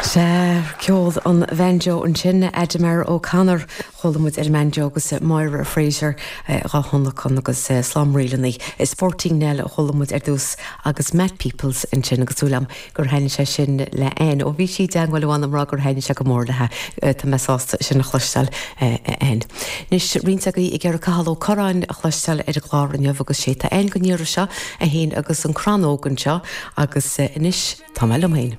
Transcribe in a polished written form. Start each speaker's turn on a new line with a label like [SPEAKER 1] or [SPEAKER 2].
[SPEAKER 1] Sea, ceol an bhanjo ansin, Ademar O'Connor, chuala muid ar an mbanjo agus Máire Fraser dhá thionlacan agus slám ríleanna. Sporting Nell a chuala muid ar dtús agus Matt Peoples ansin agus súil agam gur thaitnigh sé sin le Ann. Ó bhí sí i dteangmháil liom ag rá gur thaitnigh sé go mór léi. Tá mé sásta sin a chloisteáil, a Ann. Anois, roinnt agaibh ag iarraidh Cathal Ó Curráin a chloisteáil ar an gclár inniu agus sé tá againn don iarraidh seo é féin agus an Crannóg anseo agus anois tá mé liom féin.